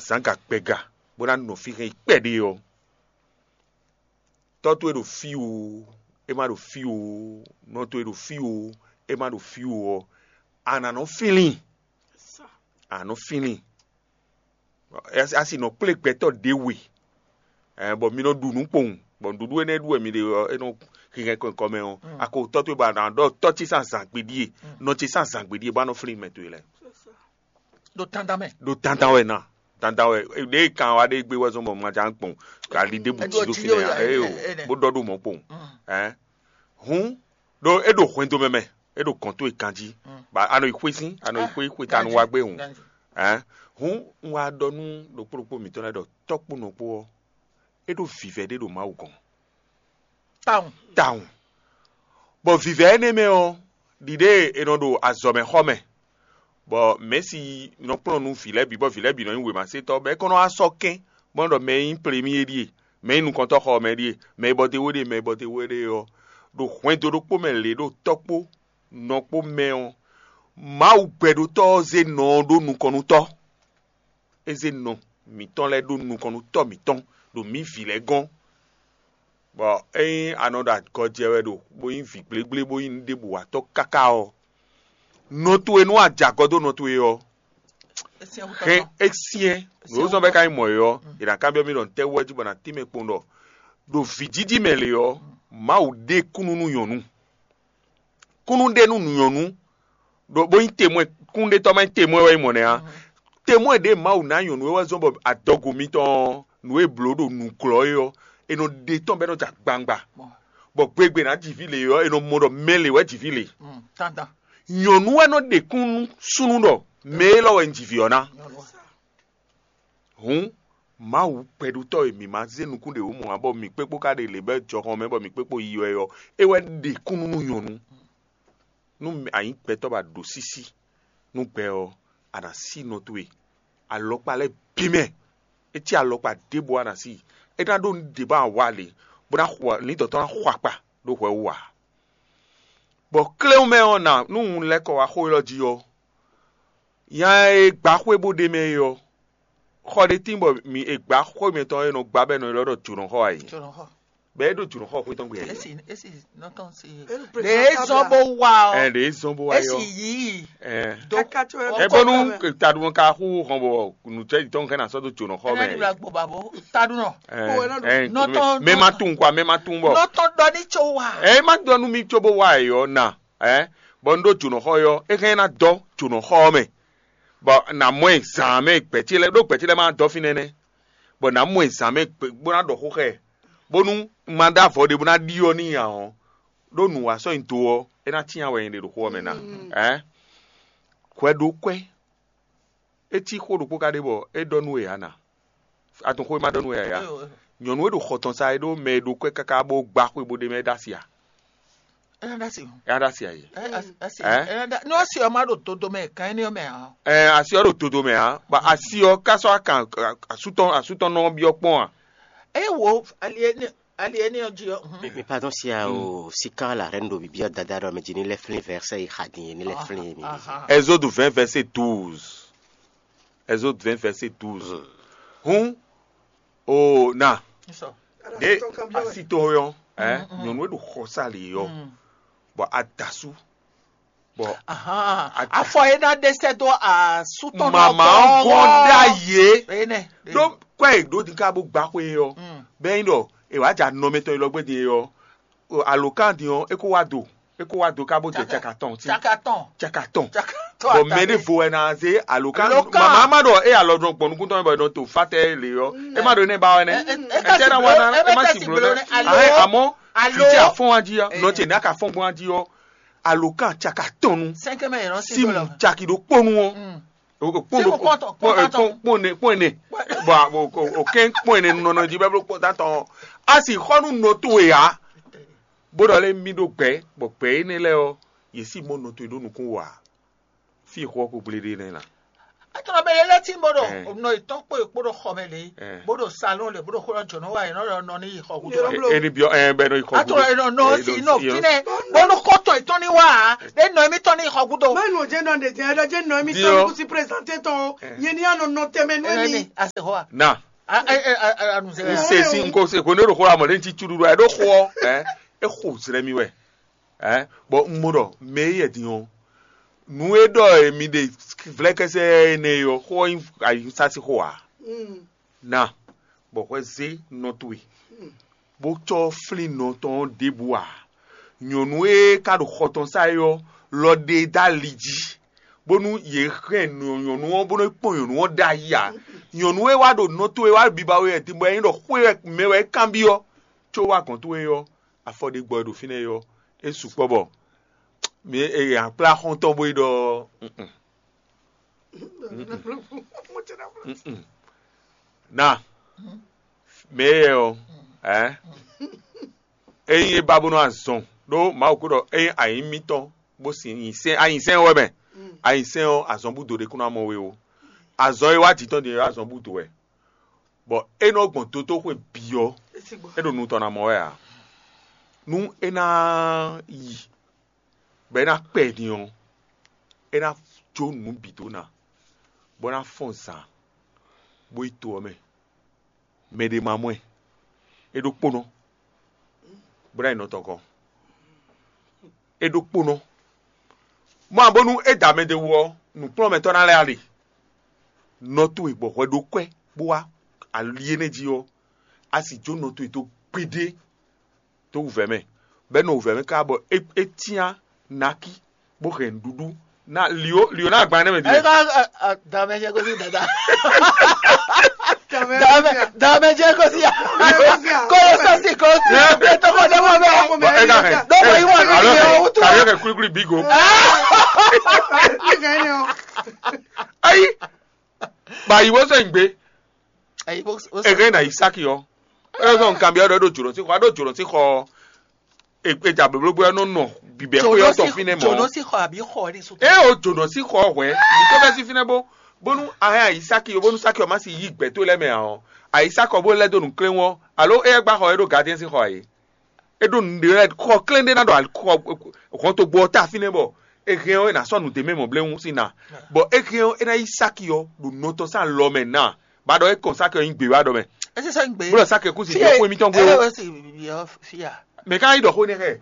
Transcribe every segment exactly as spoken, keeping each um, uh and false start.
zǎngagbɛga bó ná nɔ fí hɛn yi kpɛɖé ɔ́, tɔ́ towe ɖo fí o, é má ɖo fí o, nɔ towe ɖo fí o, é má ɖo fí o ɔ́, a nǎ nɔ fínlín, a nǎ nɔ fínlín. A si nɔ kplé gbɛtɔ́ ɖě we, bɔ mi nɔ ɖu nǔ kpowun, bɔ nǔɖuɖu énɛ́ ɖu wɛ mi ɖe ɔ́, é nɔ hinhɛn kɔn kɔ mɛ ɔ́, a ko tɔ́ towe bɔ a nǎ ɖɔ tɔ́ ce sín azǎngbe ɖíe, nɔ ce sín azǎngbe ɖíe bó a nɔ flín mɛ towe lɛ́ɛ. Ɖo dandan mɛ. Ɖo dandan wɛ ná, dandan wɛ. Ɖěe kan wa ɖe gbé wɛ zɔn bɔ ma ján gbɔn ali ɖěbǔ jí ɖó fínɛ́ ǎ, bó ɖɔ ɖó mɔ̌ kpowun. Hǔn ɖó é ɖo hwɛndo mɛ mɛ, é ɖo gɔ̌n towe ganjí, bɔ a nɔ yi xwé sín, a nɔ yi xwé xwetanu wá gbé hǔn. Hǔn un wá ɖɔ nú ɖokpó ɖokpó mǐtɔn lɛ́ɛ ɖɔ tɔ́ kpó nɔ kpó ɔ́, é ɖó vǐvɛ́ ɖé ɖo Mawu gɔ́n. Tawun. Tawun. Bɔ vǐvɛ́ énɛ́ mɛ ɔ́, ɖiɖée è nɔ ɖo azɔ̌ mɛ xɔ mɛ, bɔ Mɛ̌si nɔ kplɔ́n nú vǐ lɛ́ɛ bǐ, bɔ vǐ lɛ́ɛ bǐ nɔ nyí wěmasetɔ́, bɔ é kɔn nɔ wá sɔ́ kɛ́n, bɔ é nɔ ɖɔ mɛ e nyí plemi é ɖíe, mɛ e nyí nukɔntɔ́ xɔ ɔ́ mɛ ɖíe, mɛ e bɔ te wé ɖe, mɛ e bɔ te wé ɖe ɔ́, ɖo hwɛndo ɖokpó mɛ lě ɖo tɔ́ kpó nɔ kpó mɛ ɔ́, Mawu gbɛɖótɔ́ ɔ́ zé nɔ ɔ́ ɖó nukɔn nú tɔ́. É zé nɔ mǐtɔn lɛ́ɛ ɖó nukɔn nú tɔ́ mǐtɔn ɖo mǐ vǐ lɛ́ɛ gɔ́n, bɔ ényí a nɔ ɖo agɔ jɛ wɛ ɖo bó nyí vǐ gblégblé bó nyí nǔɖébǔwatɔ́ káká ɔ́, nɔ towe nú a jɛ agɔ dó nɔ towe ɔ́, hɛn é syɛ́n. Nǔ e zɔ́n bɔ é ka nyí mɔ̌ é ɔ́, è nǎ kanbyɔ́ mì ɖɔ nǔtɛ́ wú wɛ jí bɔ nǎ tínmɛ kpowun ɖɔ ɖo vǐ jíjí mɛ lě ɔ́, Mawu ɖe kúnnu nú nyɔ̌nu. Kúnnu ɖe nú nyɔ̌nu, ɖo bó nyí temwɛ, kúnnu ɖe tɔ́ ma nyí temwɛ wɛ nyí mɔ̌ nɛ́ ǎ. Temwɛ ɖě Mawu ná nyɔ̌nu e wɛ zɔ́n bɔ adɔgo mitɔn ɔ́, nǔ e blǒ ɖo nǔglɔ́ é ɔ́, è nɔ ɖe tɔ́n bɔ é nɔ jɛ gbangba, bɔ gbegbe ná ji vǐ lě ɔ́, è nɔ mɔ ɖɔ mɛ lě wɛ ji vǐ lě. Nyɔ̌nu wɛ nɔ ɖe kúnnu súnnu ɖɔ mɛ élɔ́ wɛ un ji vǐ ɔ́ ná. Hǔn Mawu gbɛɖutɔ́ e mǐ ma zé nukún ɖě wú mɔ̌ ǎ, bɔ mǐ kpé kpó ka ɖe lě bɔ é jɔ xɔmɛ bɔ mǐ kpé kpó yi wɛ ɔ́, é wɛ ɖe kúnnu nú nyɔ̌nu. Nú a nyǐ gbɛtɔ́ bɔ a ɖǒ sísí nú gbɛ ɔ́, a nǎ sí nɔ towe alɔkpa lɛ́ɛ bǐ mɛ. É cí alɔkpa ɖěbǔ a nǎ sí, é ná ɖó nǔ ɖě bɔ a wa lě, bó ná xɔ ní dɔ̌tɔ́ ná xɔ akpa ɖó hwɛ wú ǎ. Bɔ kléwún mɛ ɔ́ ná nú un lɛ́ kɔ wá xó élɔ́ jí ɔ́, nya e gbǎ xwé bó ɖ'é mɛ é ɔ́, xɔ ɖé tíin bɔ mi è gbǎ xwé mǐtɔn e nɔ gbá bɔ è nɔ ylɔ́ ɖɔ jǒnɔxɔ ǎ é. Bɔ é ɖo jǒnɔxɔ xwé tɔn gbe ǎ é. Esi esi nɔtɔn si. Ɖe e zɔn bó wa ɔ. Ɛ ɖe e zɔn bó wa yɔ. Esi yi. Ɛ. Do. Ɛ bɔnu taɖunɔ ka xú hɔn bɔ nùtɛ tɔn kɛ na sɔ do jǒnɔxɔ mɛ. Ɛnɛ ni wla gbɔ babo taɖunɔ. Ɛ. Nɔtɔn mɛ ma tún kwa mɛ ma tún bɔ. Nɔtɔn dɔ ni tso wa. Ɛ ma dɔ nu mi tso bó wa yɔ na. Ɛ bɔ n ɖó jǒnɔxɔ yɔ é hɛn ná dɔ jǒnɔxɔ mɛ. Bɔ nà mɔ ɛ zǎn mɛ gbɛ̌ ce lɛ́ɛ ɖó gbɛ̌ ce lɛ́ɛ ma dɔ fínɛ́ nɛ́, bɔ nǎ mɔ ɛ zǎn mɛ bó ná ɖɔ xó xá ɛ, bónú un ma ɖó avɔ ɖé bó ná ɖyɔ́ n'i ǎ ɔ́, ɖó nǔ wa sɔ́ nyi do ɔ́, é ná cyán wɛ nyɛ ɖe ɖo xó ɔ́ mɛ ná. Ɛ̌, hwɛ ɖó kwɛ́, é cí xó ɖokpó ka ɖé bɔ é ɖɔ nú we ǎ ná. A tunwun xó e ma ɖɔ nú we ǎ yá? Nyɔ̌nu e ɖo xɔ tɔn sa é ɖó mɛ e ɖó kwɛ́ káká bó gbá xwé bó ɖ'é mɛ é ɖó asi a? É ná ɖó asi o. É ná ɖó asi a yě? Asi ɛ ní ɔ́ si ɔ́ má ɖo dodo mɛ kan énɛ́ ɔ́ mɛ ǎ. Ɛ asi ɔ́ ɖo dodo mɛ ǎ, bɔ asi ɔ́ ká sɔ́ kan asútɔn asútɔn nɔ byɔ́ kpɔ́n a? É wo ali énɛ́ ali énɛ́ ɔ́ jí ɔ́. Mais pardon, si a o si quand la reine do bibia dada ɖɔ mɛ jí ní lɛ flin verset yi xa din ní lɛ flin mi. Exode vingt verset douze. Exode vingt verset douze. Hum, o na. Ɖé asi tɔn yɔ, nyɔnu e ɖo xɔ sa li yɔ, bɔ adasu, bɔ afɔ yé ná ɖe sɛ dó asútɔn mama gɔn da yé. Ɖó kɔe ɖó di ká bó gbá xwé yɔ, bɛn ɖɔ èwà jà nɔmɛtɔ yìí lɔgbɛ di yɔ, alokan di yɔ, eko wa do eko wa do ká bó jɛ caka tɔn tí. Cakatɔn. Cakatɔn. Bɔn mɛ ɖé vo wɛ na zé alokan. Mama ma ɖɔ e alɔ dɔn gbɔn nukun tɔn bɔ dɔn to fatɛ le yɔ. E ma ɖo ne ba wɛ nɛ. Ɛtɛ na wa na e ma si blo nɛ. Ahe amɔ fiti afɔn wa ji yɔ nɔ tse n'a ka fɔn gbɔn wa ji yɔ, alokan cakatɔn nu. Simu caki ɖo kponu ɔ. Kpɔn ene bɔ o kɛn kpɔn ene nɔnɔ ji bɛ blo kpɔn tatɔn. A si xɔ nu nɔ towe ya. Bó ɖɔ lé mì ɖó gbɛ̌, bɔ gbɛ̌ énɛ́ lɛ́ɛ ɔ́, yě sí mɔ nɔ towe ɖó nukún wǎ. Fí e xó ɔ́ ko gblé ɖe nɛ́ ná. Tɔnɔ mɛ lɛ́ tí bó ɖo nɔ yětɔn kpó yě kpó ɖo xɔ mɛ lě, bó ɖo salɔn lě, bó ɖo xó ɔ́ jɔnɔ wa yě nɔ ɖɔ nɔ ní yi xɔ gúdo. Eni biɔ ɛ bɛ nɔ yi xɔ gúdo. Atɔ ɛ nɔ nɔ si nɔ fínɛ bó nɔ xɔ tɔn yětɔn ní wa ɖé nɔ émítɔn ní yi xɔ gúdo. Mɛ nɔ jɛ nɔ ɖe jɛ ɖɔ jɛ nɔ émítɔn ní kú sí présenté tɔn o. Nyɛ ní anɔ nɔ tɛmɛ nú émi. Ase xɔ wa. Na. Anuzɛ. Se si nko se ko ne ɖo xó la mɔ ɖe ŋuti cuɖuɖu ɛ ɖo xó ɔ ɛ e xo zlɛ mi wɛ. Ɛ bɔ un mɔ ɖɔ mɛ e yɛ din ɔ nǔ e ɖɔ emi ɖe vlɛkɛsɛ énɛ́ ɔ́ xó ɔ́ nyí ayǐsásí xó ǎ. Na bɔ hwɛ zé nɔ towe bó cɔ́ flín nɔ tɔn ɔ́ ɖěbǔ ǎ. Nyɔ̌nu e ka ɖo xɔ tɔn sá é ɔ́ lɔ ɖe dó ali jí, bónú yě hɛn nyɔ̌nu ɔ́ bó nɔ́ kpɔ́n nyɔ̌nu ɔ́ ɖ'ayǐ ǎ. Nyɔ̌nu e wá ɖo nɔ towe wá biba we wɛ din bɔ é nyí ɖɔ xwé wɛ mɛ wɛ é kanbyɔ́ có wá gɔ̌n towe ɔ́, afɔ ɖé gbɔ e ɖo fínɛ́ é ɔ́, é sukpɔ́ bɔ mi e akplá xɔ́ntɔn bó yi ɖɔ na mɛ yɛ ɔ ɛ ényí é ba bó nɔ azɔn ɖó Mawu kú ɖɔ ényí ayǐ mitɔn bó sin nyi sɛn anyi sɛn wɛ mɛ, anyi sɛn ɔ́ azɔn búdo ɖé kún ná mɔ we o. Azɔn e wá jǐ tɔn din é azɔn búdo wɛ, bɔ é nɔ gbɔn dotóxwe bǐ ɔ́, é ɖo nu tɔn ná mɔ wɛ ǎ. Nú é ná yi bɔ é ná kpɛ din ɔ́, é ná jó nǔ bǐ dó ná, bó ná fɔ́n zǎn, bó yi to ɔ́ mɛ. Mɛ ɖé ma mɔ ɛ, é ɖó kpónɔ, bó ná yi nɔ tɔn gɔ́n. É ɖó kpónɔ. Mɔ bónú é da mɛ ɖé wú ɔ́, nǔkplɔ́nmɛtɔ́ ná lɛ́ ali. Nɔ towe gbɔ hwɛ ɖó kwɛ́ bó wá ali énɛ́ jí ɔ́, a sì jó nɔ towe dó gbeɖé dó wǔvɛ́ mɛ, bɔ é nɔ wǔvɛ́ mɛ káká bɔ é é cyán naki bó hɛn nǔɖuɖu ná lyo lyo ná agban énɛ́ mɛ din. Ɛ ká damɛ jɛ ko sí dada. Damɛ damɛ jɛ ko sí ya. Ko yɛ sɔsi ko sí. Ɛ tɔgɔ dɛ mɔ bɛ. Bɔ ɛ ka hɛn. Dɔbɔ yi wɔ ní alo yɛ o tó. Alo kɛ kulikuli bi go. Ayi, ba yi wo sɛ ngbe. Ayi wo. Ɛ gɛ na Isaki ɔ. Ɛ sɔ nkan bi ɔ ɖo jòló sí xɔ, ɖo jòló sí xɔ. Egbe ja blóblógbó ɛ nɔ nɔ bibɛ xó yɔ tɔ fínɛ́ mɔ. Jòló sí xɔ àbí xɔ ní sùn. Ɛ o jòló sí xɔ hwɛ. Ní tó bɛ sí fínɛ́ bó. Bónú ahɛn Isaki ɔ bónú Saki ɔ má si yí gbɛtó lɛ́ mɛ ǎ ɔ́, Isaki ɔ bó lɛ́ dó nǔkléwɔ́n alo éyɛ́ gbá xɔ é ɖo Gadɛ́n sín xɔ ǎ é. É ɖó nǔɖé lɛ́ɛ xɔ klɛ́n ɖé ná ɖɔ xɔ́ntɔgbó ɔ́ ta fínɛ́ bɔ é hɛn ɔ́ é ná sɔ́ nǔ d'é mɛ mɔ̌ bléwún sín ná, bɔ é hɛn ɔ́ é ná yí Saki ɔ́ ɖo nɔ tɔn sín alɔ mɛ ná, bá ɖɔ é kɔn Saki ɔ́ nyí gběwá ɖɔ mɛ. Esi sɔ gbé. Bó ɖɔ Saki ɔ́ kú sí Fie- yɔ xó émítɔn gbé ɛ o. Wɛ si yɔ fia. Mɛ ká yí ɖɔ xó nɛ xɛ.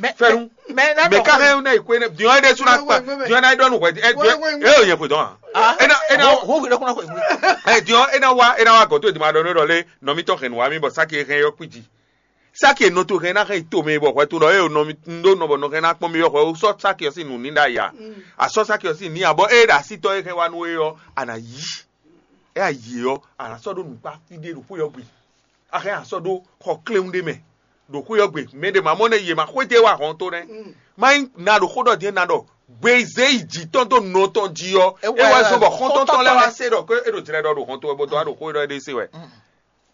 Mɛ Fɛnu. Mɛ na Mɛ dɔ ká xó. Hɛn ná yi kó énɛ́ diɔ é ɖésú ná Wɛ, kpa wɛ, wɛ, wɛ. Diɔ é ná yi ɖɔ nú hwɛ ɛ Wɛ, wɛ, wɛ. É yɔ nyɛ xwedɔn a. Ah. É ná é ná Ho ho fi ɖɔkun na xɔ ìwé. Ɛ diɔ é ná wá é ná wá gɔ̌ tó èdè máa ɖɔ nú é ɖɔ lé nɔ mítɔn hɛn nǔ wá mí bɔ Saki hɛn yɔ kpí jí. Saki e nɔ to hɛn ná hɛn yi tomɛ bɔ hwɛ to nɔ eye nɔ mi ɖó nɔ bɔ nɔ hɛn ná kpɔn mi yɔ hwɛ o sɔ Saki ɔ́ sín nǔ ní ɖ'ayǐ a? A sɔ Saki ɔ́ sín ní a bɔ ée ɖo asítɔ́ e hɛn wá nú é ɔ́, a nǎ yí. É a yí ɔ́, a nǎ sɔ́ ɖó nǔkpa fí ɖé ɖo xwé ɔ́ gbe. A hɛn a sɔ́ ɖó xɔ kléwún ɖé mɛ ɖo xwé ɔ́ gbe. Mɛ ɖě ma mɔ nɛ yě ma xwedó e wá hɔn tó nɛ́. Má nyí na ɖo xó ɖɔ din na ɖɔ gbe e zé yi jǐ tɔn dó nɔ tɔn jí ɔ́, é wá zɔ́n bɔ xɔ́ntɔn tɔn lɛ́ɛ wá se ɖɔ é ɖo jlɛ ɖɔ ɖo hɔn tó wɛ bó dó wá ɖo xó ɖɔ é ɖésé wɛ.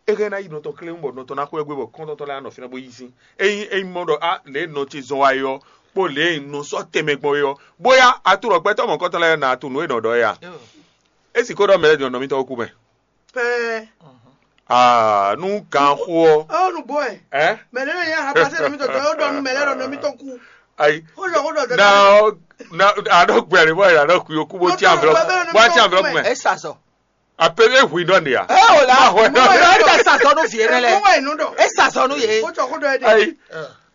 É hɛn ná yi nɔ tɔn kléwún bɔ nɔ tɔn ná xwé gbe bɔ kɔ́ntɔn tɔn lɛ́ɛ ná nɔ fínɛ́ bó yí sín. Ényí ényí mɔ ɖɔ á lě e nɔ ce zɔn wá é ɔ́, kpó lě e nɔ sɔ́ tɛnmɛ gbɔn é ɔ́, bóyá a tunɔ gbɛtɔ́ mɔ̌hunkɔtɔn lɛ́ɛ ná tunwun nǔ e nɔ ɖɔ é a? É sixú ɖɔ mɛ lɛ́ɛ din ɔ́ nɔ mítɔn kú mɛ. Pɛ́ɛ. Aa nú gan xó ɔ́. Ó nu bó ɛ. Ɛ? Mɛ lɛ́ɛ yɛ ha pasé nɔ mítɔn tɔn, ó ɖɔ nu mɛ lɛ́ɛ ɖɔ nɔ mítɔn kú. Ayi. Ó lɔ ó ɖɔ dada. Na na a ɖɔ gbɛ rẹ bɔ a ɖɔ kú yókù bó tí enveloppe bó tí enveloppe mɛ. Ɛ sazɔ. Ape e hu iɖɔ ne ya. Ɛ o la. Mo wɛ iɖɔ ta sazɔ nu vie ne lɛ. Mo wɛ inu dɔ. E sazɔ nu ye. Mo tsɔ ko dɔ ye de. Ayi.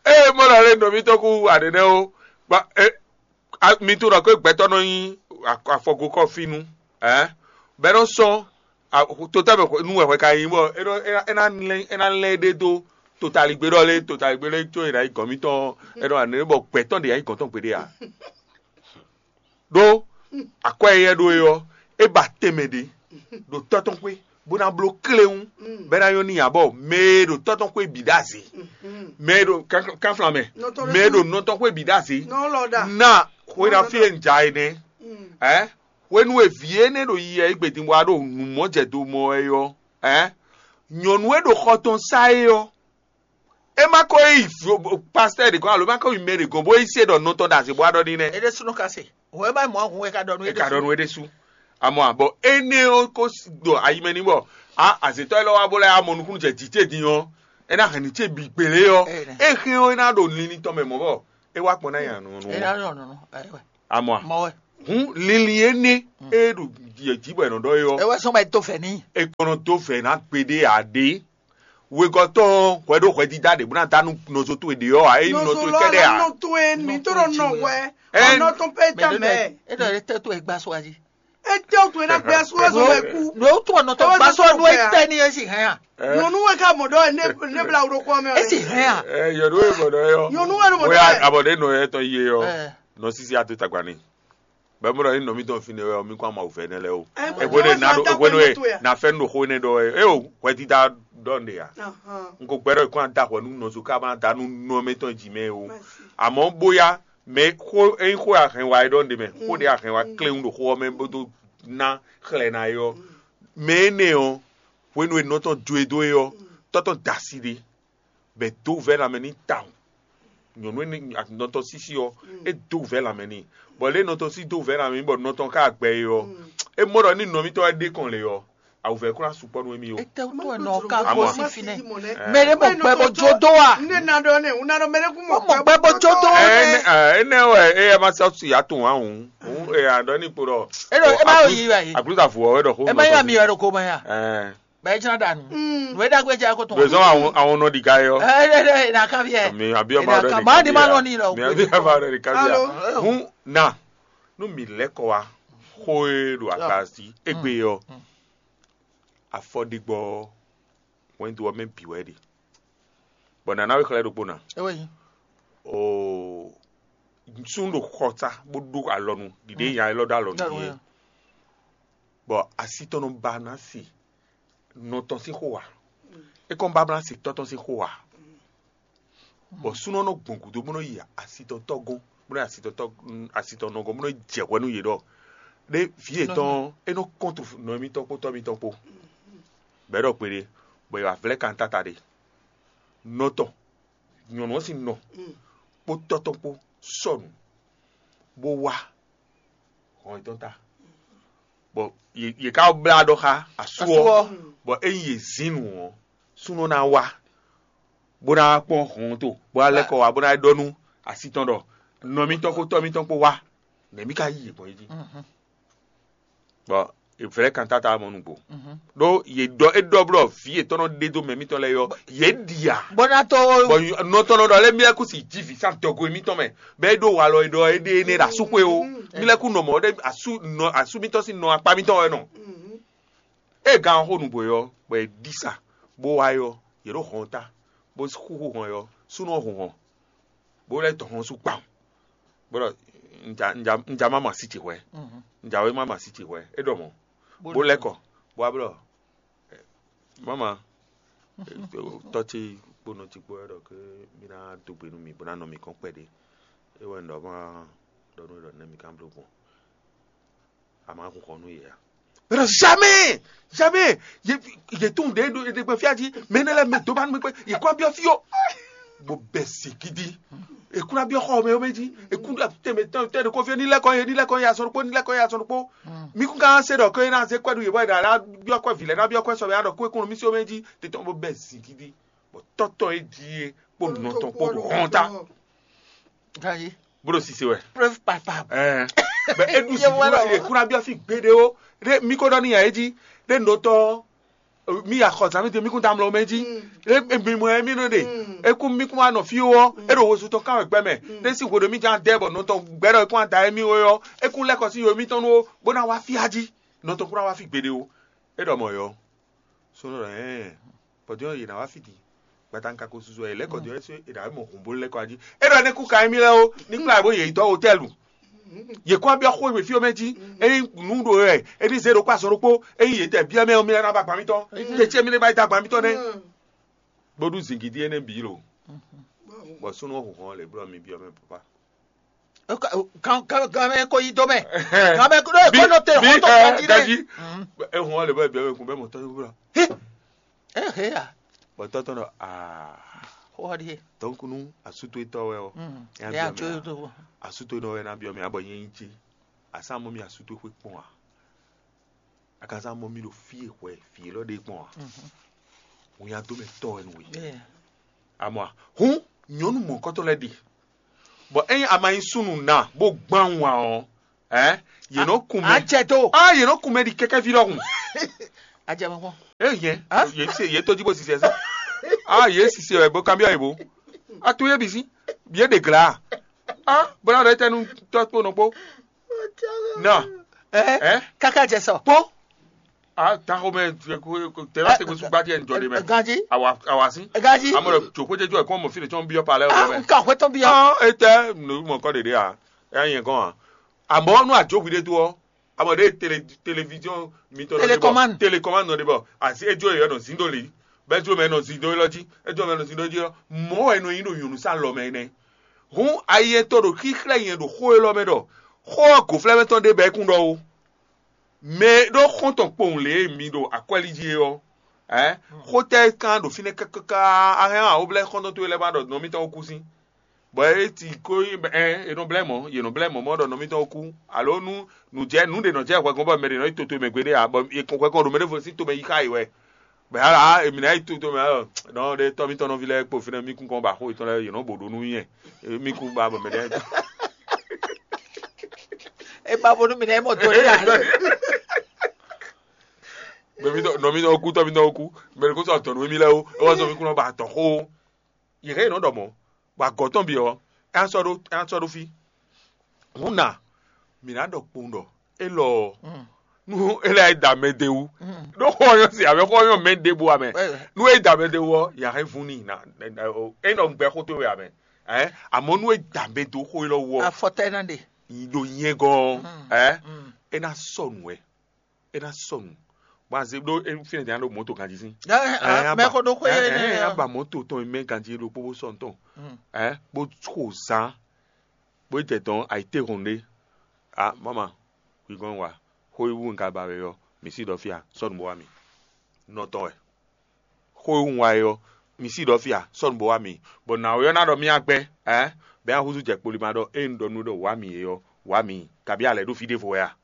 Ee mo la le nɔ mi tɔ ku ade ne o. Ba e a mi to dɔ ko gbɛtɔ nɔ nyi afɔgo kɔ fi nu. Ɛ bɛ nɔ sɔn a to tɛ bɛ nu wɛ hwɛ ka yi bɔ e nɔ e na lɛ e na lɛ de do totaligbe dɔ le totaligbe le tso e na yi gɔn mi tɔn e nɔ ane bɔ gbɛtɔ de ya yi gɔn tɔn gbe de ya. Ɖó akwɛ́ e é ɖó é ɔ́, é ba tɛnmɛ ɖé ɖo tɔ́ tɔn xwé, bó ná bló kléwún, bɔ é ná nyɔ́ n'i ǎ bɔ mɛ e ɖo tɔ́ tɔn xwé bǐ ɖó azě, mɛ e ɖo kanflan mɛ, mɛ e ɖo nɔ tɔn xwé bǐ ɖó azě, ná xwé ná fí e un ja é nɛ́. Ɛ hwenu e vǐ énɛ́ ɖo yiyi wɛ é gbedin bɔ a ɖo nǔ mɔ jɛ do mɔ wɛ é ɔ́, ɛ nyɔ̌nu e ɖo xɔ tɔn sá é ɔ́, é má ko yi pasitɛ́ ɖě gɔ́n alo é má ko yi mɛ ɖě gɔ́n bó yi se ɖɔ nɔ tɔn ɖo azě bó wá ɖɔ n'i nɛ́. É ɖésúnɔ ka se. Hwɛ má mɔ ahun wɛ ka ɖɔ nú É ka ɖɔ nú é ɖésú. Amɔ a bɔ énɛ́ ɔ́ ko ɖo ayi mɛ ní bɔ a azětɔ́ élɔ́ wá bó lɛ́ amɔ nukúnnú jɛ jǐ ce din ɔ́, é ná hɛn nǔ ce bǐ gbélé ɔ́, é hɛn ɔ́ é ná ɖo linlin tɔn mɛ mɔ̌ bɔ é wá kpɔ́n ná nya nɔ nú. Amɔ a hǔn linlin énɛ́ é ɖo jǐ bɔ è nɔ ɖɔ é ɔ́, é wɛ sɔn bɔ è dó fɛ n'i. È kɔn nɔ dó fɛ ná gbeɖé ǎ ɖé. Wegɔ́tɔn hwɛ ɖó hwɛdídá ɖě bó ná dá nú nɔzo towe ɖě ɔ́ ǎ, é nyí nɔ towe kɛ́ɖɛ́ ǎ. Nɔ towe ní tó nɔ nɔ hwɛ. Ɔ́ nɔ tɔn pé tán mɛ. É ɖɔ é tɛ́ towe gbá sɔ ají. É tɛ́ towe ná gbé asúwɛ́sɔ wɛ kú. Nǔ e wútu ɔ́ nɔ tɔn gbá sɔ nú é tɛ́ ní é sì hɛn a? Nyɔnu wɛ ká mɔ ɖɔ ne ne bla wuro kɔ mɛ. É sì hɛn a? Ɛ yɔnu wɛ mɔ ɖɔ yɔ. Nyɔnu wɛ mɔ ɖɔ yɛ. Abɔ ɖe nɔ yɛ tɔn yie yɔ. Nɔ sisi ato tagba ni. Bɛmɔɖɔ ní nɔ mítɔn fínɛ́ wɛ ɔ́, mí kɔn ama wǔvɛ́ nɛ́ lɛ́ɛ o. Ɛ, Hwenu e na ɖo hwenu e na fɛ́ nú ɖo xó énɛ́ ɖɔ wɛ é o hwɛdídá ɖɔ nɖe ǎ. Ahán. Un ko gbɛ́ ɖɔ kɔn ada hwɛ nú nɔzo ká ma da nú nɔ mɛtɔn jí mɛ o. Amɔ̌ bóyá mɛ xó ényí xó ahɛn wa é ɖɔ nɖe mɛ, xó ɖé ahɛn wa kléwún ɖo xó ɔ́ mɛ bó dó ná xlɛ́ ná é ɔ́, mɛ énɛ́ ɔ́, hwenu e nɔ tɔn jó e dó é ɔ́, tɔ́ tɔn da asi ɖé. Bɔ è dó wǔvɛ́ lanmɛ n'i tawun. Nyɔ̌nu énɛ́ nɔtɔn sísí ɔ́, é dó wǔvɛ́ lanmɛ n'i. Bɔ lě e nɔtɔn sí dó wǔvɛ́ lanmɛ n'i bɔ nɔtɔn ká gbɛ é ɔ́, é mɔ ɖɔ ní nɔ mitɔn wɛ ɖe kɔn lě ɔ́, awǔvɛ́ kún ná sukpɔ́ nú émí ó. Étɛ́wútu wɛ nɔ ká gosín fínɛ́? Mɛ ɖé mɔ gbɛ bó jó dó a? Ne na ɖɔ ne un na ɖɔ mɛ ɖé kún mɔ Mɔ gbɛ bó jó dó a? Ɛ, ɛ, énɛ́ wɛ é yɛ ma sɔ́ su yá tun wá hǔn. Hǔn é yà ɖɔ ní kpo ɖɔ. É ɖo é má yi wá yìí. Aglúzàfù ɔ́ wɛ ɖɔ xó. É má yí wá mi wɛ ɖo ko mɛ ya. Ɛ. Bɛɛ jna ɖa nu. Nǔ e ɖagbe jɛ ko tɔn. Bezɔn àwọn àwọn nɔ ɖiga yɔ. Ɛ ɛ ɛ na kan fi ɛ. Mi abi ɔba ɖɔ nika bia. Ma di ma lɔ ni lɔ. Mi abi ɔba ɖɔ nika bia. Hun na nu mi lɛ kɔ wa xo e ɖo akasi egbe yɔ. Afɔɖigbɔ wɛndu ɔmɛ bi wɛ ɖe. Bɔ nana we xlɛ ɖokpo na. Ewe yi. O sun ɖo xɔta bó ɖó alɔnu ɖiɖe nya elɔ ɖo alɔnu yɛ. Bɔ asi tɔn nɔ ba na si nɔ tɔn sín xó wa. É kɔn ba bla si tɔ́ tɔn sín xó wa. Bɔ súnɔ nɔ gbɔn gǔdo bó nɔ yi asitɔtɔ́ gɔ́n bó nɔ yi asitɔtɔ́ asitɔnɔ gɔ́n bó nɔ jɛ hwɛ nú yě ɖɔ ɖé vǐ yětɔn é nɔ kɔn to nɔ émítɔn kpó tɔ́ émítɔn kpó. Bɔ é ɖɔ gbeɖé bɔ è wǎ vlɛ́ kantáta ɖé nɔ tɔn nyɔ̌nu ɔ́ sín nɔ kpó tɔ́ tɔn kpó sɔnu bó wá hɔn yětɔn ta. Bɔ yě yě ká blá ɖɔ xá asú Asú ɔ́ ɔ́. Bɔ ényí yě zín nǔ ɔ́, súnnu ná wá bó ná kpɔ́n hɔn to bó ná lɛ́ kɔ wá bó ná ɖɔ nú asi tɔn ɖɔ nɔ mitɔn kpó tɔ́ mitɔn kpó wá nɛ̌ mí ka yí yě gbɔn é jí. Bɔ è vlɛ́ kantáta mɔ nǔgbó ɖó yě ɖɔ é ɖɔ blɔ vǐ yětɔn nɔ ɖe dó mɛ mitɔn lɛ́ɛ yɔ yě ɖi ǎ. Bó ná tó bɔ nɔtɔn nɔ ɖɔ lé mílɛ́kú si jí vǐ sín adɔgo émítɔn mɛ bɔ é ɖó walɔ é ɖɔ é ɖe énɛ́ ɖo asúxwé ó. Mílɛ́kú nɔ mɔ̌ ɖé asú nɔ asú mítɔn sín nɔ akpá mítɔn wɛ nɔ. Ée gan ɔ́ xo nǔgbó é ɔ́ bɔ è ɖi sa bó wá é ɔ́, yě ɖo hɔn ta bó xúxú hɔn é ɔ́, súnnu ɔ́ hun hɔn bó lɛ́ tɔ hɔn sú kpawun. Bó ɖɔ un ja un ja un ja má ma sí ce hwɛ. Un ja wé má ma sí ce hwɛ é ɖɔ mɔ̌ bó lɛ́ kɔ bó wá blɔ mama tɔ́ ce kpónɔ ce kpó wɛ ɖɔ ké mí ná dó gbe nú mì bó ná nɔ mì kɔn kpɛɖé. É wɛ un ɖɔ má ɖɔ nú é ɖɔ nɛ́ mì ká bló gbɔn. A ma hun xɔ nú yě a? Bɛlɛ jamais jamais yě yě tún ɖe ɖe ɖe fia jí mɛ ne lɛ mɛ dó ba nú mi kpé yě kó abiɔ fio. Bó bɛ sigidi. Ekuna biɔ xɔ mɛ o mɛ jí ekun tɛmɛ tɛmɛ tɛ ɖe ko fio ni lɛ kɔ ye ni lɛ kɔ ye asɔrɔ kpó ni lɛ kɔ ye asɔrɔ kpó. Mi kún ká se ɖɔ ko ye na zé kɔɛ ɖu yě bɔ yě ɖa biɔ kɔɛ vilɛ na biɔ kɔɛ sɔbɛ aɖɔ kó ekun mi si o mɛ jí tètè bó bɛ sigidi. Bɔ tɔtɔ ye di ye kpó nɔtɔ kpó hɔn ta. Gayi. Bó ɖo sise wɛ. Preuve palpable. Ɛɛ bɛ eɖu si Yevu wɛ lɔ. Ekuna biɔ fi gbeɖe o ɖe mi ko ɖɔ ni ya ye jí ɖe nɔtɔ mi ya xɔ zami te mi kun da mlɔ mɛ jí. E mi mɔ mi nɔ ɖe ekun mi kun wa nɔ fi wɔ e ɖo wozu tɔn kan wɛ gbɛ mɛ ɖe si hweɖo mi jan dɛ bɔ nɔtɔ gbɛ ɖɔ ekun ada mi wo yɔ ekun lɛ kɔ si yo mi tɔn nu o bó na wa fi aji nɔtɔ kura wa fi gbeɖe o e ɖɔ mɔ yɔ. Sɔnɔ ɖɔ ɛɛ bɔdɔ yina wa fi di gbata nka ko susu ɛ lɛ kɔdɔ ɛ so e ɖa mɔ hun bó lɛ kɔ aji e ɖɔ ne ku ka mi lɛ o ni kpla bo yɛ idɔ hotɛlu. Yě kó abiɔ xó e fí omɛ jí eni nǔ ɖo ɛ eni zé ɖokpó azɔn ɖokpó eni yě tɛ biɔ mɛ mi lɛ na ba gbã mitɔn tete mi lɛ ba yi da gbã mitɔn nɛ. Bó ɖu zingidi énɛ́ bǐ lo bɔ súnú ɔ́ hun hɔn lě blɔ mi biɔ mɛ papa. Kan kan kan mɛ ko yi do mɛ kan mɛ ko ɖo ko nɔ te hɔn tɔ kan di dɛ. Ehun ɔ́ lě bɔ biɔ mɛ kun bɛ mɔ tɔn yókù la. Ehe ya. Bɔ tɔtɔ nɔ aa. Xɔ ɖi. Dɔnkunu asuto etɔ wɛ o. Ya ya biɔ tso mɛ to. Asuto nɔ wɛ na biɔ mɛ abɔ yɛn yi ce. Asan mɔ mi asuto xwe kpɔn a. Akanzan mɔ mi ɖo fí e hwɛ fí élɔ́ ɖe gbɔn a? Wun ya dó mɛ tɔ́ wɛ nú we. Amɔ a, hǔn nyɔ̌nu mɔ̌kɔtɔ́ lɛ́ɛ ɖe, bɔ ényí a ma nyí súnnu ná bó gbán wǎn ɔ́, ɛ, yě nɔ kun mɛ. Acɛ tó. Ah, yě nɔ kun mɛ ɖi kɛkɛ́ví ɖɔhun. Acɛ mɔ kpɔn. Eye yɛn, yě se yě tɔjí bó sisɛ sá. Ah, yě sisɛ wɛ bó kanbyɔ́ yě bó. A to yé bǐ sí. Yě ɖe glǎ. Ah, bó ná ɖɔ étɛ́ nú tɔ́ kpó nɔ kpó. Nɔ. Ɛ, káká jɛ sɔ. Kpó. Ah, taxo mɛ tɛlá se kó sú gbájí ɛ njɔ ɖe mɛ. Ganji. Awa awa sí. Ganji. Amɔ ɖɔ tso kó jẹjọ ɛ kó mɔ fi ɖe tsɔn biɔ palɛ o mɛ. Nka hwɛ tɔn biɔ. Ah, etɛ nu mɔ kɔ ɖeɖe a. Ɛ yɛn gɔn a. Amɔ nu ajo hwi ɖe do ɔ. Amɔ ɖe tele télévision mitɔn nɔ ɖe bɔ. Télécommande nɔ ɖe bɔ. Asi ejo yɛ nɔ zindo li. Bɛ jo mɛ nɔ zindo lɔ ji. Ejo mɛ nɔ zindo ji ɔ. Mɔ wɛ nɔ nyi ɖo nyɔnu sa lɔ mɛ nɛ. Hǔn ayi e to ɖo xíxlɛ́ nyɛ ɖo xó élɔ́ mɛ ɖɔ xó ɔ́ gǒflɛ́mɛ tɔn ɖé bɛ́ kún ɖɔ ó. Mɛ e ɖó xɔ́ntɔn kpowun lě e mi ɖo akwɛ́lí jí é ɔ́, ɛ, xó tɛ́ kan ɖo fínɛ́ káká? A hɛn awoblɛ́ xɔ́ntɔn towe lɛ́ɛ ba ɖɔ nɔ mitɔn kú sín, bɔ é ti ko ɛ è nɔ blɛ́ mɔ̌, yě nɔ blɛ́ mɔ̌ mɔ̌ ɖɔ nɔ mitɔn kú, alo nú nǔ jɛ nǔ ɖě nɔ jɛ hwɛkɔn bɔ mɛ ɖě nɔ yi toto mɛ gbeɖé ǎ, bɔ hwɛkɔn ɖo mɛ ɖěvo sín tomɛ yi xá yi wɛ. Bɛ ala emi ná yi to tomɛ alɔ nɔ ɖe tɔ́ mitɔn nɔví lɛ́ɛ kpo fínɛ́ mí kún kɔn ba xó yětɔn lɛ́ɛ yě nɔ bo ɖó nú nyɛ. Mí kún ba bɔ mɛ ɖɛ. E ba bo nú mi nɛ e mɔ do ɖé ǎ. Mɛ mitɔn nɔ mitɔn kú tɔ́ mitɔn kú mɛ ɖě kó sɔ tɔ̌ nú émí lɛ́ɛ ó, é wá sɔ mí kún nɔ ba tɔ̌ xó. Yě hɛn yě nɔ ɖɔ mɔ̌, bɔ agɔ̌ tɔn bǐ ɔ́, é ná sɔ́ ɖó é ná sɔ́ ɖó fí. Hǔn nǎ, mǐ ná ɖɔ kpowun ɖɔ élɔ́ ɔ́, nú é lɛ́ da mɛ ɖé wú, ɖó xɔ nyɔ se avɛ xɔ nyɔ mɛ ɖěbǔ amɛ. Nú é da mɛ ɖé wú ɔ́, yǎ hɛn vún n'i ná. É nɔ gbɛ xó towe amɛ. Amɔ̌ nú é da mɛ dó xó élɔ́ wú ɔ́, afɔtá ná ɖe. Ɖo nyɛ gɔ́n ɔ́, é ná sɔ nǔ wɛ. É ná sɔ nǔ. Bɔ azě ɖó fínɛ́ din ɖo mɔ̌to ganjí sín. Mɛ xo ɖó xwé. Ɛ, ɛ, aba mɔ̌to tɔn e mɛ ganjí ɖokpó bó sɔ nǔ tɔn. Ɛ, bó xo zán. Bó jɛ dɔn ayǐtéhɔn ɖé. A mama, hwigɔn wa, xó e wú un ka ba wɛ ɔ́, mǐ sí ɖɔ fí a, sɔ́ nǔ bó wá mi. Nɔ tɔn wɛ. Xó e wú un wa é ɔ́, mǐ sí ɖɔ fí a, sɔ́ nǔ bó wá mi. Bɔ nǎwe ɔ́ ná ɖɔ mì agbɛ́, ɛ, bɛ́ ná húzú jɛ kpoli ma ɖɔ ée un ɖɔ nú we ɖɔ wǎ mi é ɔ́, wǎ mi, kabí a lɛ̌ ɖo fí ɖěvo wɛ a?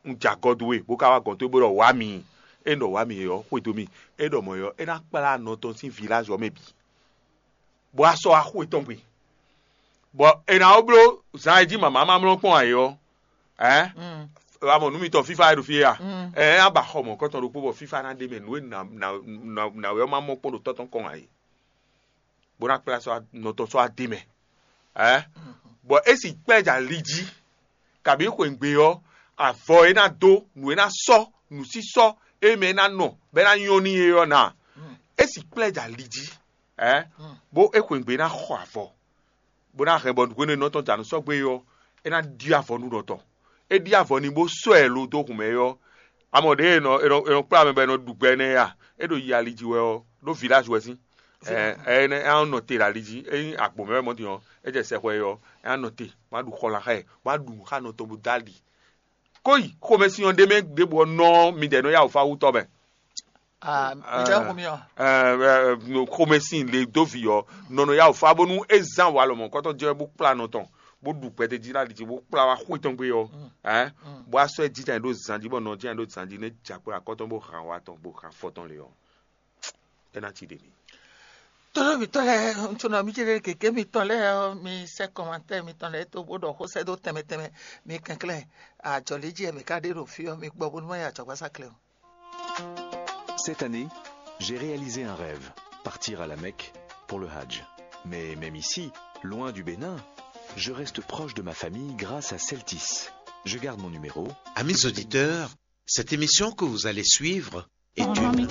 Un jɛ agɔ dó we, bó ka wá gɔn towe bó ɖɔ wǎ mi. Ée un ɖɔ wǎ mi é ɔ́, xwedó mì. É ɖɔ mɔ̌ é ɔ́, é ná kplá nɔ tɔn sín vilázɔ mɛ bǐ, bó wá sɔ́ wá xwe tɔn gbe. Bɔ è nǎ wó bló zan e jí mama ma mlɔ́ kpɔ́n ǎ é ɔ́, ɛ, wamɔ nǔ mitɔn fífá e ɖo fí é a? Ɛ, é ná ba xɔ mɔ̌kɔtɔn ɖokpó bɔ fífá ná ɖe mɛ nǔ e nǎwe ɔ́ ma mɔ kpɔ́n ɖo tɔ́ tɔn kɔn ǎ é, bó ná kplá sɔ́ nɔ tɔn sɔ́ adé mɛ. Ɛ, bɔ é si kpɛ́ jɛ ali jí, kabǐ xweyǐgbe ɔ́, avɔ e ná dó, nǔ e ná sɔ́, nǔsísɔ́ e mɛ e ná nɔ bɔ é ná nyɔ́ n'i é ɔ́ ná, é si kplá ɛ jɛ ali jí, ɛ, bó é xweyǐgbe ná xɔ avɔ, bó ná hɛn bɔ hwenu e nɔ tɔn jɛ anǔ sɔ́ gbé é ɔ́, é ná ɖyɔ́ avɔ nú nɔ tɔn. É ɖyɔ́ avɔ n'i bó sɔ́ ɛ lo dó hun mɛ é ɔ́, amɔ ɖěe è nɔ è nɔ è nɔ kplá mɛ bɔ è nɔ ɖu gbɛ nɛ́ é a? É ɖo yi ali jí wɛ ɔ́, ɖó vǐláz wɛ sín. Ɛ, ɛ, é ná nɔ te ɖo ali jí. Ényí agbǒ mɛ wɛ mɔ̌ din ɔ́, é jɛ sɛxwɛ é ɔ́, é ná nɔ te, bó ná ɖu xɔlan xá ɛ, bó ná ɖu nǔ xá nɔ tɔn bó dó ali. Kó yi xomɛsin ɔ́ ɖé mɛ ɖěbǔ ɔ́ nɔ midɛɛ nɔ yá wǔ fá wú tɔ́ mɛ. Midɛɛ xo mi ɔ́. Xomɛsin le dó vǐ ɔ́, nɔ nɔ yá wǔ fá bónú é zán walɔ mɔ̌kɔtɔn jɛ́n bó kplá nɔ tɔn, bó ɖu gbɛtɛ́ jí ɖo ali jí bó kplá wá xwé tɔn gbé ɔ́, bó wá sɔ́ ɛ jínjɔ́n ɖó zan jí bɔ nɔ jínjɔ́n ɖó zan jí nú é jɛ akpó akɔ́ tɔn bó hɛn awa tɔn bó hɛn afɔ tɔn lě ɔ́, é ná cí ɖe mì. Tɔ́lɔ́ mǐtɔn lɛ́ɛ, ŋutsu nɔ mí ce ɖe gěgé mitɔn lɛ́ɛ ɔ́, mi sɛ́ kɔmantɛ́ɛ mitɔn lɛ́ɛ dó bó ɖɔ xó sɛ́ dó tɛnmɛ tɛnmɛ, mi kɛnklɛ́n ajɔ̌ lé jí wɛ mǐ ka ɖe ɖo fí ɔ́, mi gbɔ bónú má yi ajɔ̌gbásá klɛ́ o. Cette année, j'ai réalisé un rêve, partir à la Mecque pour le Hajj. Mais même ici, loin du Bénin, je reste proche de ma famille grâce à Celtis. Je garde mon numéro. Amis auditeurs, cette émission que vous allez suivre est une